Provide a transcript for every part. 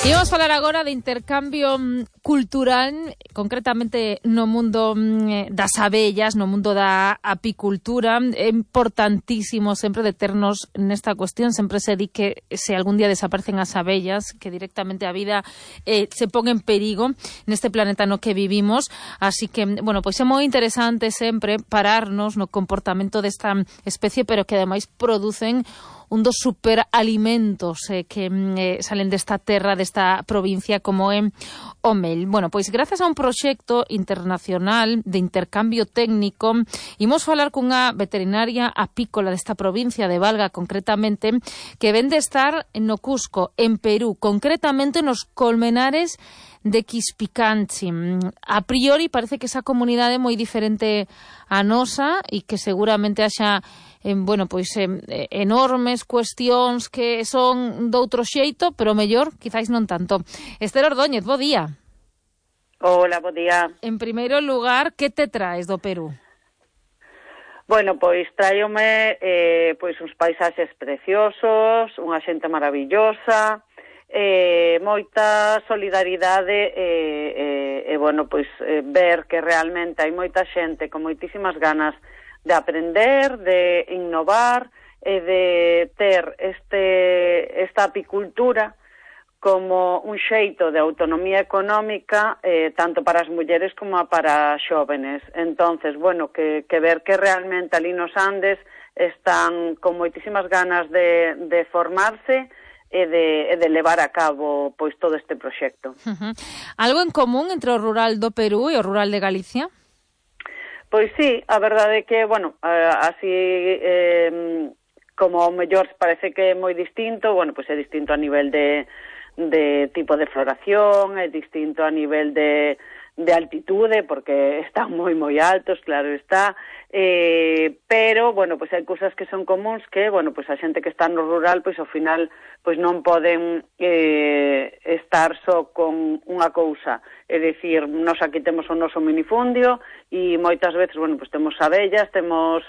Imos falar agora de intercambio cultural, concretamente no mundo das abellas, no mundo da apicultura. É importantísimo sempre deternos nesta cuestión. Sempre se di que se algún día desaparecen as abellas, que directamente a vida se pon en perigo neste planeta no que vivimos. Así que, bueno, pois é moi interesante sempre pararnos no comportamento desta especie, pero que ademais producen un dos superalimentos que salen desta terra, desta provincia, como é o mel. Bueno, pois grazas a un proxecto internacional de intercambio técnico, imos falar cunha veterinaria apícola desta provincia de Valga, concretamente, que ven de estar no Cusco, en Perú, concretamente nos Colmenares de Quispicanchi. A priori parece que esa comunidade é moi diferente a nosa e que seguramente haxa enormes cuestións que son doutro xeito, pero mellor, quizáis non tanto. Esther Ordóñez, bo día. Hola, bo día. En primeiro lugar, que te traes do Perú? Bueno, pois tráiome uns paisaxes preciosos, unha xente maravillosa, moita solidaridade ver que realmente hai moita xente con moitísimas ganas de aprender, de innovar e de ter esta apicultura como un xeito de autonomía económica tanto para as mulleres como para as xóvenes. Entonces, bueno, que ver que realmente ali nos Andes están con moitísimas ganas de formarse e de levar a cabo pois todo este proxecto. Algo en común entre o rural do Perú e o rural de Galicia? Pois sí, a verdade é que, bueno, así como ao mellor parece que é moi distinto, bueno, pois é distinto a nivel de tipo de floración, é distinto a nivel de altitude, porque están moi altos, claro está, pero, bueno, pois hai cousas que son comuns que, bueno, pois a xente que está no rural, pois ao final, pois non poden estar só con unha cousa, é dicir, nós aquí temos o noso minifundio e moitas veces, bueno, pois temos abellas, temos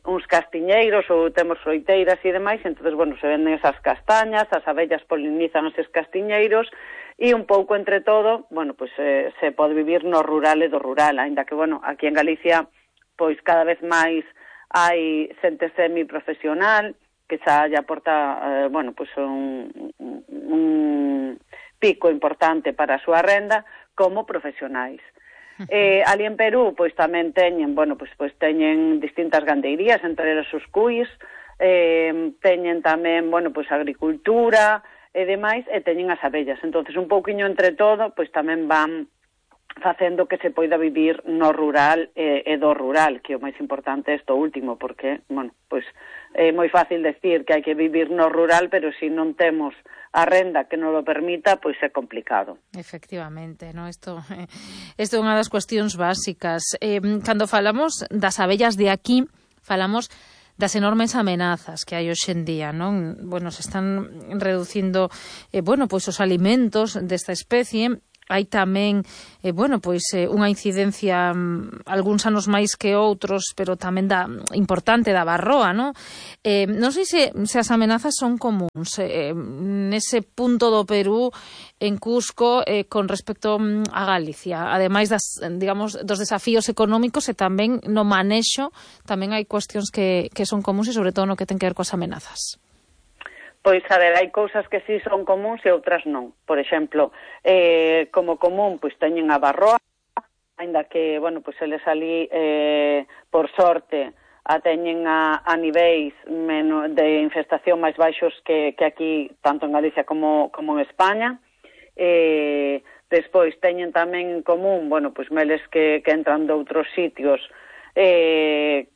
uns castiñeiros ou temos froiteiras e demais, entonces, bueno, se venden esas castañas, as abellas polinizan eses castiñeiros e un pouco entre todo, bueno, pois se pode vivir no rural e do rural, aínda que, bueno, aquí en Galicia, pois cada vez máis hai xente semiprofesional que xa lle aporta, bueno, pois un pico importante para a súa renda como profesionais. Ali en Perú, pois tamén teñen, bueno, pois teñen distintas gandeirías, entre elas os cuis, teñen tamén, bueno, pois agricultura e demais, e teñen as abellas. Entonces, un pouquiño entre todo, pois tamén van facendo que se poida vivir no rural e do rural, que o máis importante é isto último, porque, bueno, pois é moi fácil decir que hai que vivir no rural, pero se non temos a renda que non o permita, pois é complicado. Efectivamente, no? Isto é unha das cuestións básicas. Cando falamos das abellas de aquí, falamos das enormes amenazas que hai hoxe en día, non? Bueno, se están reducindo, pois os alimentos desta especie. Hai tamén, unha incidencia algúns anos máis que outros, pero tamén importante da varroa, non? Non sei se as amenazas son comuns nese punto do Perú, en Cusco, con respecto a Galicia. Ademais dos desafíos económicos e tamén no manexo, tamén hai cuestións que son comuns e sobre todo no que ten que ver coas amenazas. Pois, a ver, hai cousas que sí son comuns e outras non. Por exemplo, como común, pois teñen a varroa, ainda que, bueno, pois eles ali, por sorte, a teñen a niveis de infestación máis baixos que aquí, tanto en Galicia como en España. Despois teñen tamén en común, bueno, pois meles que entran de outros sitios,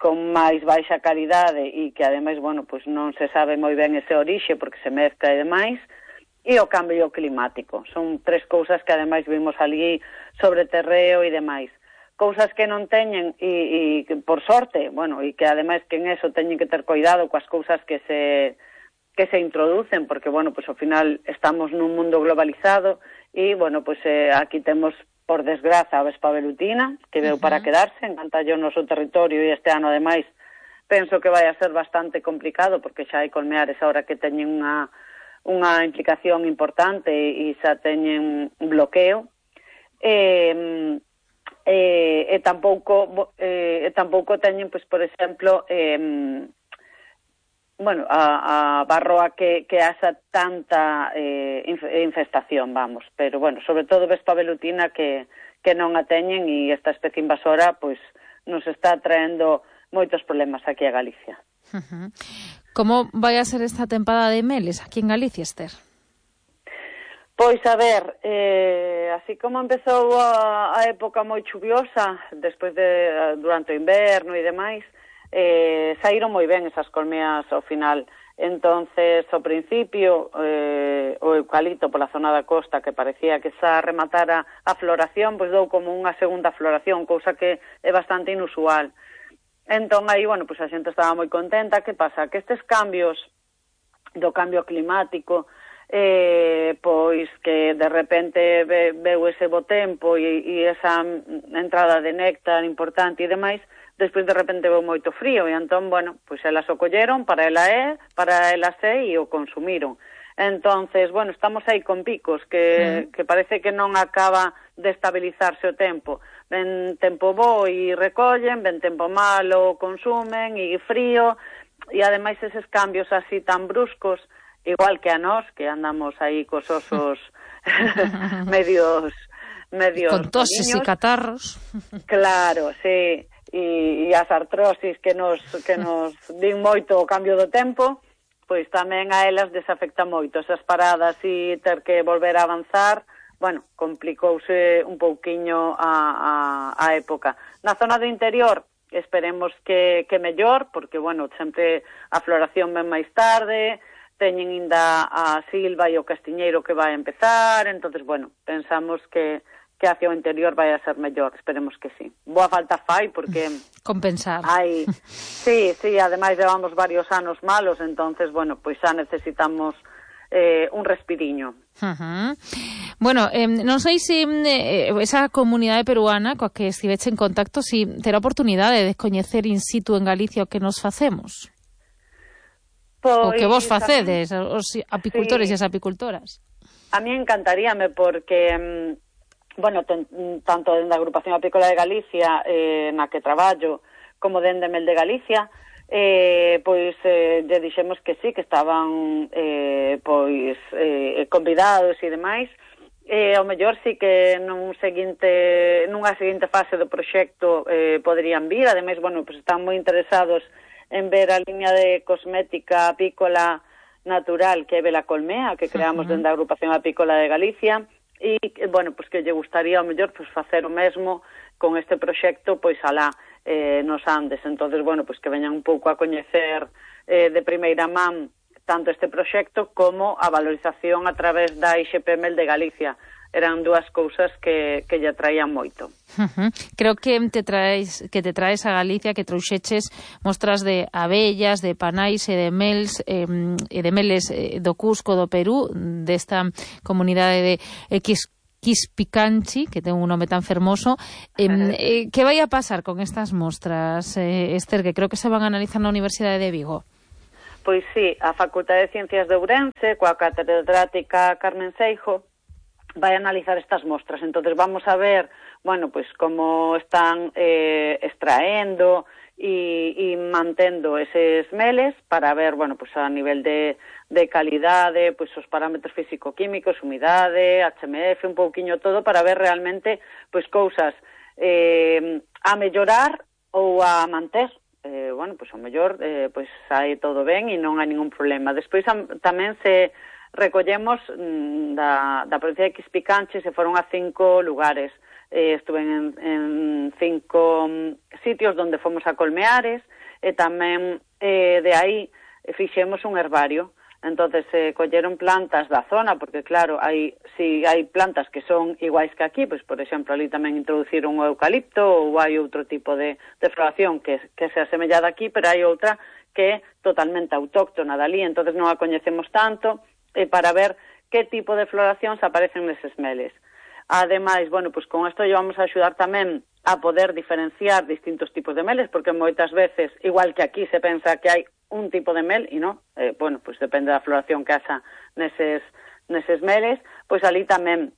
con máis baixa calidade e que ademais, bueno, pois non se sabe moi ben ese orixe porque se mezcla e demais, e o cambio climático. Son tres cousas que ademais vimos ali sobre terreo e demais. Cousas que non teñen e por sorte, bueno, e que ademais que en eso teñen que ter cuidado coas cousas que se introducen, porque, bueno, pois ao final estamos nun mundo globalizado e, bueno, pois aquí temos por desgraza, a vespa velutina, que veu para quedarse, encanta o noso territorio e este ano, ademais, penso que vai a ser bastante complicado, porque xa hai colmeares ahora que teñen unha implicación importante e xa teñen un bloqueo. E tampouco teñen, pois, por exemplo, a Barroa que haxa tanta infestación, vamos, pero, sobre todo Vespa velutina que non a teñen, e esta especie invasora, pois, nos está traendo moitos problemas aquí a Galicia. Como vai a ser esta tempada de meles aquí en Galicia, Esther? Pois, a ver, así como empezou a época moi chuviosa, despois durante o inverno e demais, saíron moi ben esas colmeas ao final. Entonces, ao principio, o eucalipto pola zona da costa, que parecía que xa rematara a floración, pois dou como unha segunda floración, cousa que é bastante inusual. Entón, aí, pois a xente estaba moi contenta. Que pasa? Que estes cambios do cambio climático, pois que de repente veu ese bo tempo e esa entrada de néctar importante e demais, despois de repente veu moito frío, e entón, pois elas o colleron para elas e o consumiron. Entonces, estamos aí con picos que parece que non acaba de estabilizarse o tempo. Ven tempo bo e recollen, ven tempo malo consumen e frío, e ademais eses cambios así tan bruscos, igual que a nós, que andamos aí cos osos medios con toses e catarros. Claro, sí. E as artrosis que nos din moito o cambio do tempo, pois tamén a elas desafecta moito. Esas paradas e ter que volver a avanzar, complicouse un pouquiño a época. Na zona do interior esperemos que mellor, porque, sempre a floración ven máis tarde, teñen ainda a silva e o castiñeiro que vai a empezar, entonces, pensamos que hacia o interior vai a ser mellor, esperemos que sí. Boa falta fai, porque... compensar. Sí, ademais levamos varios anos malos, entonces, pois xa necesitamos un respiriño. Non sei se esa comunidade peruana coa que estiveche en contacto, si terá oportunidade de coñecer in situ en Galicia o que nos facemos. Pois, o que vos facedes, os apicultores e as apicultoras. A mí encantaríame, porque... tanto dende a Agrupación Apícola de Galicia, na que traballo, como dende Mel de Galicia, lle dixemos que sí, que estaban convidados e demais. Ao mellor sí que nunha seguinte fase do proxecto poderían vir. Ademais, están moi interesados en ver a liña de cosmética apícola natural que é Bela Colmea, que creamos dende a Agrupación Apícola de Galicia, e, que lle gustaría ao mellor facer o mesmo con este proxecto alá nos Andes. Entonces, que veñan un pouco a coñecer de primeira man tanto este proxecto como a valorización a través da IXP Mel de Galicia. Eran dúas cousas que lle atraían moito. Creo que te traes a Galicia, que trouxeches mostras de abellas, de panais e de meles do Cusco, do Perú, desta comunidade de Quispicanchi, que ten un nome tan fermoso. Que vai a pasar con estas mostras, Esther, que creo que se van a analizar na Universidade de Vigo? Pois sí, a Facultade de Ciencias de Ourense, coa catedrática Carmen Seijo, vai analizar estas mostras. Entonces vamos a ver, como están extraendo e mantendo eses meles para ver, a nivel de calidade, os parámetros físico-químicos, humidade, HMF, un pouquiño todo, para ver realmente, cousas a mellorar ou a manter. Ao mellor, sai todo ben e non hai ningún problema. Despois tamén se recollemos da provincia de Quispicanchi, se foron a 5 lugares. Estuve en 5 sitios donde fomos a colmeares, e tamén de aí fixemos un herbario. Entonces colleron plantas da zona, porque claro, hai plantas que son iguais que aquí, por exemplo, ali tamén introduciron o eucalipto, ou hai outro tipo de floración que se asemellada aquí, pero hai outra que é totalmente autóctona dali, entonces non a coñecemos tanto, para ver que tipo de floracións aparecen neses meles. Ademais, con isto vamos a axudar tamén a poder diferenciar distintos tipos de meles, porque moitas veces, igual que aquí se pensa que hai un tipo de mel e non, bueno, pois depende da floración que haxa neses meles, pois ali tamén